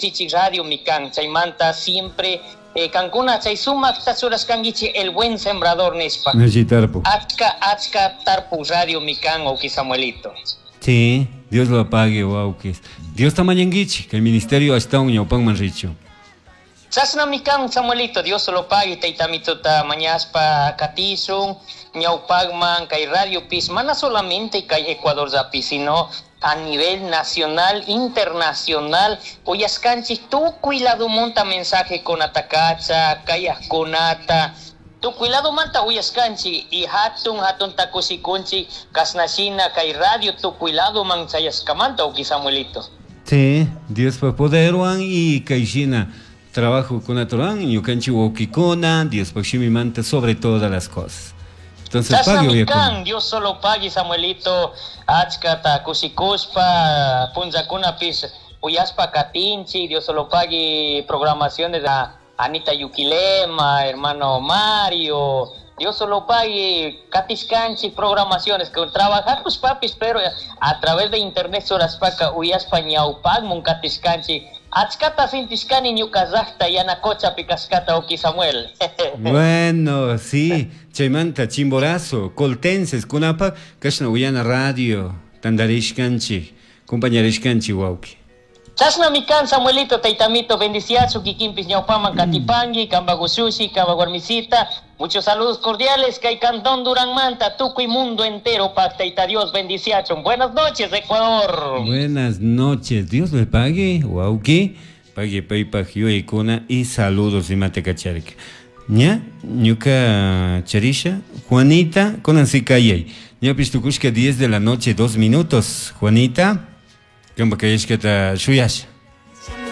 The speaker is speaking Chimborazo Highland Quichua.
Chichi Radio mikan chaymanta siempre kankuna chay sumakta churashkankichik El Buen Sembrador nishpa. Alli tarpuk. Achka achka tarpuk radio mikan wawki Samuelito. Sí, Dios lo pague wawkis. Diosta mañankichik kay ministerio ashtawan ñawpakman richun. Chashnami kan Samuelito, Dios lo pague taytamituta mañashpa katishun ñawpakman kay radiopis mana solamente kay Ecuadorllapi sino a nivel nacional, internacional, uyashkanchik tukuy ladomanta mensajekunata kacha, kayajkunata, tukuy ladomanta uyashkanchik y hatun hatunta kushikunchik kashnashina kay radio tukuy ladoman chayashkamanta uki Samuelito. Sí, Diospa poderwan y kayshina trabajokunata ruran ñukanchik wawkikuna Diospak shimimanta sobre todas las cosas. Entonces, pague Chashnami uyakuna. kan, Dios solo pague Samuelito, achkata kushikushpa punllakunapis uyashpa katinchik, Dios solo pague programaciones de Anita Yuquilema, hermano Mario, Dios solo pague katishkanchik programaciones que trabajakush papis, pero a través de internet churashpaka uyashpa ñawpakmun katishkanchik, achkata sintishkani ñuka llakta Yanacochapi kashkata uki Samuel. Bueno, sí, chaymanta Chimborazo, Coltenses, kunapak kashna uyana radio, tandarishkanchik, compañarishkanchik wawki. Chashnami kan Samuelito, taytamito, bendiciachu kikinpis ñawpaman katipanki, kampak ushushi, kampak warmisita. Muchos saludos cordiales, kay Cantón Duranmanta, tukuy mundo entero, pak tayta Dios bendiciachun. Buenas noches, Ecuador. Buenas noches, Dios le pague, wawki, pague paypak yuyaykuna y saludos imata kacharka. Ña, ñuka charisha, Juanita, kunan si kayay. Ñapish tukushka 10 de la noche, 2 minutos. Juanita, kampak kayashkata shuyasha.